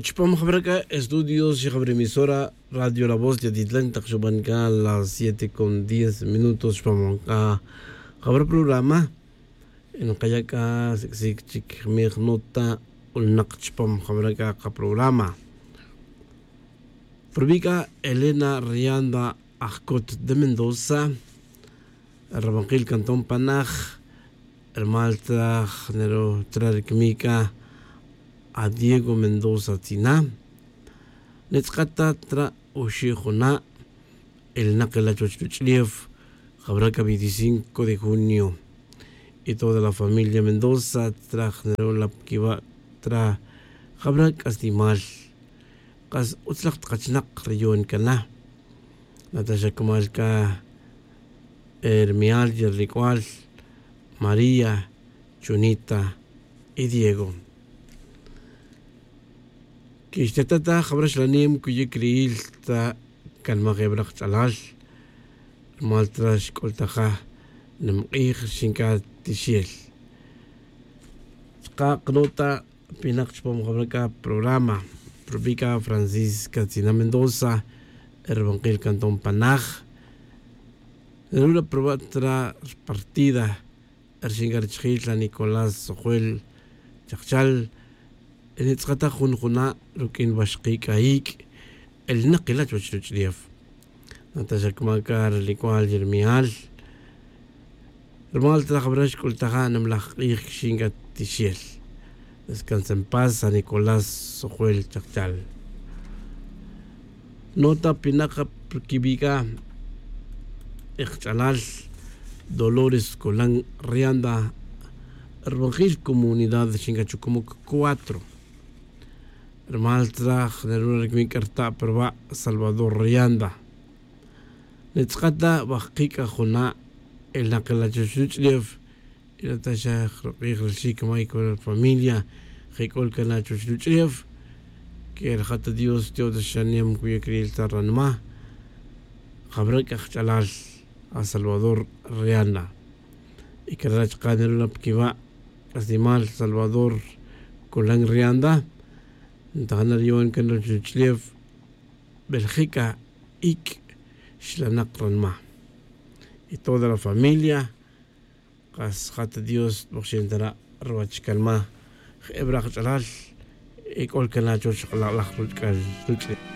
Chupam jabraka estudios emisora Radio La Voz de Atitlán taq xub'an ka las 7 con 10 minutos chupam ka jabra programa nqaya' k'a siksik chik miij nota ulnaq chupam jabraka qaprograma. Rub'i' Elena Rianda Ajcot de Mendoza, Rabanqil Cantón Panaj, rmal traj nero trarikmika a Diego Mendoza Tzina, netzqata tra oxi juna el naqela chuch Jabraca 25 de junio y toda la familia Mendoza traj nero la kiba tra Jabrak astimal qas utzlaq tqachnaq rayon kana Natasha Kumalka Hermial Yerricual María Chunita y Diego. Kixtatata jabrax lanim kuyik riil ta kanma jebraq ch'alal maltrax k'ultaja nimq'iij xinka tixiel. Chqa qnota pinaq chpom jabraka programa Rubika Francisca Tzina Mendoza Erbanquil Cantón Panaj. Nerula probatra partida Erxingar Chjil Nicolás Sojuel Chachal Nitzqata jun juna rukin baxqik ayik el naqila chuchlief Natasha Kumakar Licual Yermial Rmal trajabrash kultaja namlaj q'ij xinga tixiel. Descansa en paz a Nicolás Sojuel Chachal. Nota pinaca kibika Ixchalal Dolores Colán Rianda Erbangil Comunidad de Xingachucumuc 4 Rmal traj neruna rikmikarta perba Salvador Rianda. Netzqata bajqika juna el naqelachuchuchlief y Natasha Ruqij Michael familia Jikol Kanachuchuchlief que el jata Dios Dios shanem kuya kriil tarranma Jabrak Axchalal a Salvador Rianda. Y que rach qaneruna pkiba Asimal Salvador Colán Rianda. Ntajanar yoan kanachuchlief Bélgica ik Xlanaq y toda la familia qas jata Dios boxentara ruachkalma ebraq ch'alal ik'ol kanachuch laj ruchkal ruchli.